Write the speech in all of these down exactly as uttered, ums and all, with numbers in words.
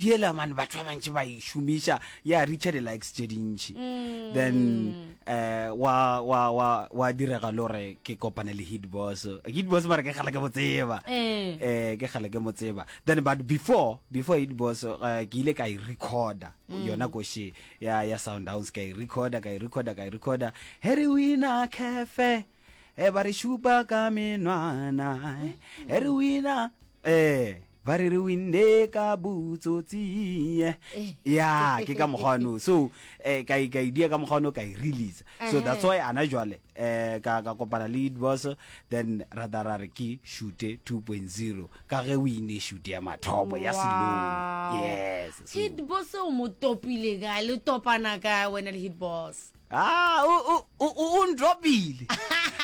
Yela man, batho ba bantši ba e šomiša, ya reacha di-likes tše dintši. Then eh wa wa wa wa direga le gore ke kopane le Hit Boss. Hit Boss mara ke kgale ke mo tseba. Eh. Eh ke kgale ke mo tseba. Then but before before Hit Boss, eh, ke ile ka e recorda yona koši ya ya Sundowns, ka e recorda, ka e recorda, ka e recorda. He re wina cafe, e ba re šupa ka menwana. He re wina, eh ba re re winne ka botsotsi. Ya, ke ka mokgwa ono. So eh ka e ka e dia ka mokgwa ono, ka e release. So that's why ana jwale eh ka ka kopana le Hit Boss, then ra da ra re ke shoot two point zero ka ge o ine shoot ya mathomo ya Selong. Wow. Yes, so Hit Boss o mo topile kae? Le topana kae wena le Hit Boss? Ah, o o o o ndropile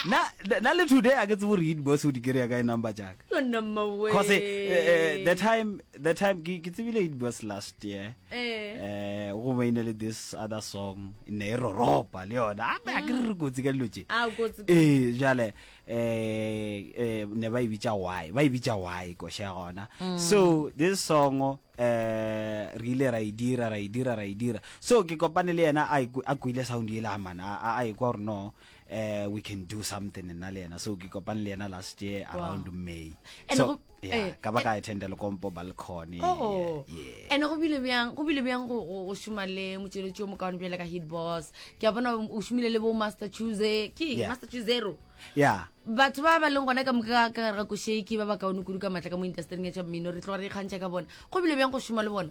na na le today a ke tsebe gore Hit Boss o di kry-a kae number jaaka. Yo number way. 'Cause eh, eh, the time the time ke ke tsebile Hit Boss last year, Eh. eh go maine le this other song ne e roropa le yona a a ke re re kotsi ka dilo tše. A kotsi. Ee, jale eh eh ne ba e bitša why, ba e bitša why koša ya gona. So this song eh re ile ra e dira, ra e dira, ra e dira. So ke kopane le yena, a ikwe- a kwile sound yela man, a a- a ekwa gore no, eh we can do something nna le yena. So ke kopane le yena last year around May. And So go- yeah, eh, ka ba ka attenda Lekompo balcony. Oh. Yeah. Ene go bile bjang, go bile bjang go go go šoma le motšweletši o mokaone bjale ka Hit Boss? Ke a bona o šomile le bo Master Choose, ke Yeah. Master Choose Zero. Yeah. Batho ba ba leng gona ka moka ka gare ga košeiki ba ba kaone kudu ka maatla ka mo industryng ya tša mmino, re tloga re ikgantšha ka bona. Go bile bjang go šoma le bona?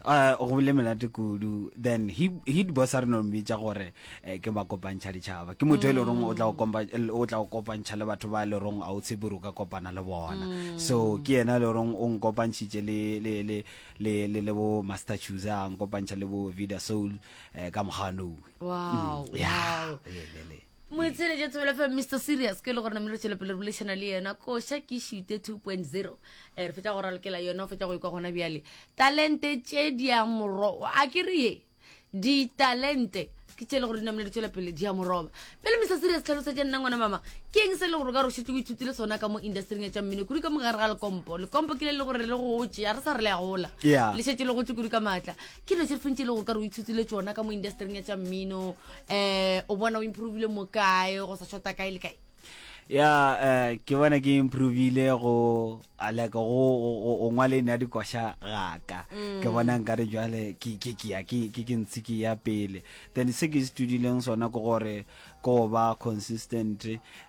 uh go bile monate kudu. Then he Hit Boss a re no mmitša gore eh, ke makopantšha ditšhaba, ke motho e le goreng o tla go kompa- o tla go kopantšha le batho ba e le goreng a o tshepe gore o ka kopana le bona. So ke yena e le goreng o nkopantšhitše le le le le le le bo Master Chooser, a nkopantšha le bo Vida Soul, eh, ka moganong. Wow. Yeah. Wow. Le, le, le. Moitsheletše Thobela F M, Mister Serious ke le gore namile re tšwele pele re boledišana le yena. Koša ke šute two point zero, um re fetša go ralokela yona, o fetša go ikwa gona bjale. Talente tše di a moro, a ke re ye ditalente ke tše e le gore di namile di tšwela pele di a moroba. Pele, Mister Serious, tlhalosetše nna ngwana mama, ke eng se e le gore o ka re o šetse o ithutile sona ka mo industryng ya tša mmino, kudu ka mo gare ga Lekompo? Lekompo ke le le gore le gotse, a re sa re le a gola. Yeah. Le šetse le gotse kudu ka maatla. Ke dilo tše feng tše e le gore ka re o ithutile tsona ka mo industryng ya tša mmino? um o bona o improvile mo kae, go sa shota kae le kae? Ya, eh ke bona ke improvile go a like go go go ngwaleng ya dikoša gaka. Ke bona nkare jwale ke ke ke ya ke ke ke ntse ke ya pele. Then se ke se studileng sona ke gore ko ba consistent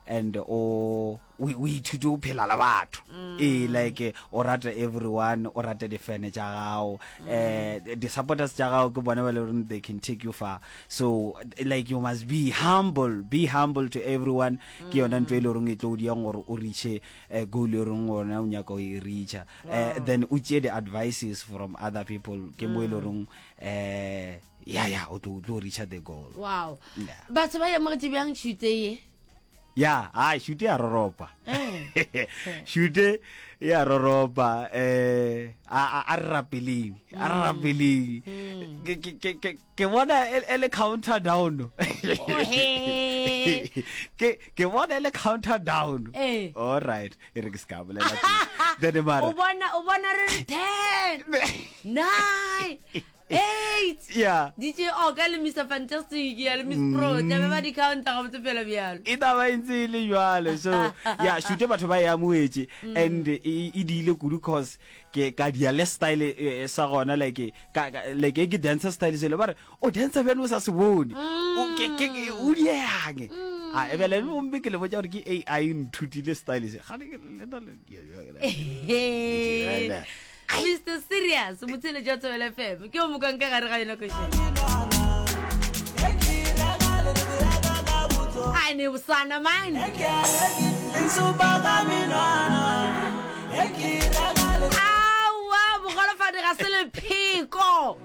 and o o o ithute go phela le batho. Ee, like o rate everyone, o rate di-fan tša gago, eh di-supporters tša gago, ke bona ba le goreng they can take you far. So like you must be humble, be humble to everyone. Ke yona ntho e le goreng e tlo o diang gore o reache eh, goal e goreng ona o nyaka o e reacha. eh, then o tšee the advices from other people, ke mo e le goreng eh ya ya o tlo o tlo reacha the goal. Wow. Yeah. Batho ba amogetše bjang šute ye? Ya, ai, shute ya roropa. Eh. Shute ya roropa. eh a a- a re rapeleng, a re rapeleng. Ke ke ke ke ke bona e e le counter down. Ohe. ke ke bona e le counter down. Eh. All right, e re ke se ka bolela kudu. Then mara O bona, o bona re re ten, nine, eight. Yeah. D J Oka le Mister Fantastic ya le Miss Pro tlabe ba di counta gabotse fela bjalo. E taba e ntse e le jwalo. So ya, shute batho ba e amoetse and e e diile kudu, 'cause ke ka dia le style eh, sa gona, like ka ka- like e ke dancer style sele, ba re o dancer bjane o sa se bone. O ke ke ke- o diang a e bele gomme ke le botša gore ke A I nthutile style se gane ke le na le. Mister Serious, motsheletši wa Thobela F M, ke o mokang ka gare ga yona košeng a ne bosana man. Aowa, bogolofadi ga se lepheko.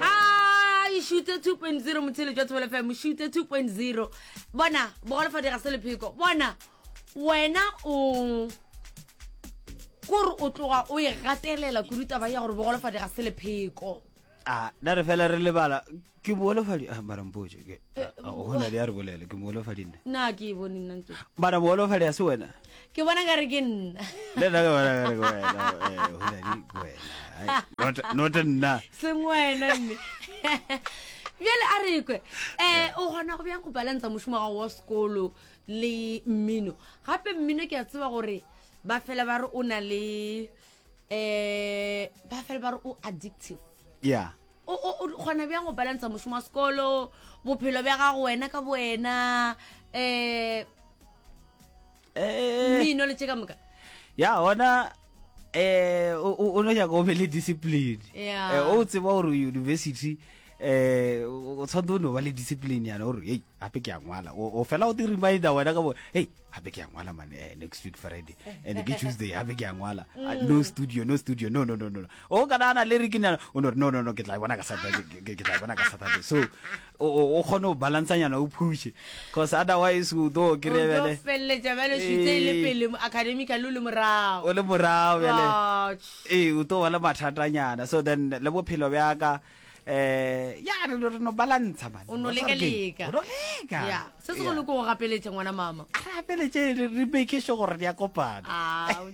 A šute two point zero, motheletši wa Thobela F M, šute two point zero. Bona, bogolofadi ga se lepheko. Bona wena, o kore o tloga o e gatelela kudu taba ya gore bogolofadi ga se lepheko. A na re fela re lebala ke moholofadi. Ah, mara mpotse ke gona le ya re bolele, ke moholofadi nna? Nna ke e bone nna ntse. Mara moholofadi a se wena? Ke bona ka re ke nna. Le nna ke bona ka re ke wena, eh, Holadi, ke wena. Ai, not not nna. Seng wena mme. Bjale a re kwe, um o kgona go bjang go balansa mošomo wa gago wa sekolo le mmino? Gape mmino ke a tseba gore ba fela ba re o na le um ba fela ba re o addictive. Yeah. O o- o kgona bjang go balansa mošomo wa sekolo, bophelo bja gago wena ka bowena, um eh mmino le tše ka moka? Ya, ona eh o o- o no nyaka o be le discipline. Yeah. Eh, o tseba gore university eh o o tshwanetse o no ba le discipline yana gore, hey, gape ke a ngwala. O o fela o te reminder wena ka bo, hey, gape ke a ngwala man, eh, next week Friday, and ke Tuesday, gape ke a ngwala. Ah, no studio, no studio, no no no no. O ka nana le re ke nyana o no re, no no no, ke tla e bona ka Saturday, ke ke- ke tla e bona ka Saturday. So o o o kgone go balancanyana, o pushe, cause otherwise o tlo kry-a O tlo bjale feleletša bjale šitse e le Eh. pele academically o le morago. O le morago bjale. Ouch. Ee, o tlo ba le mathatanyana. So then le bophelo bjaka, eh ya, re no- re no balantsha man. O no Wa tseba ke- leka-leka. O no leka. Ya, se segolo ke go gapeletša ngwana mama. Re gapeletše, re re make sure gore di a kopana. Ah, o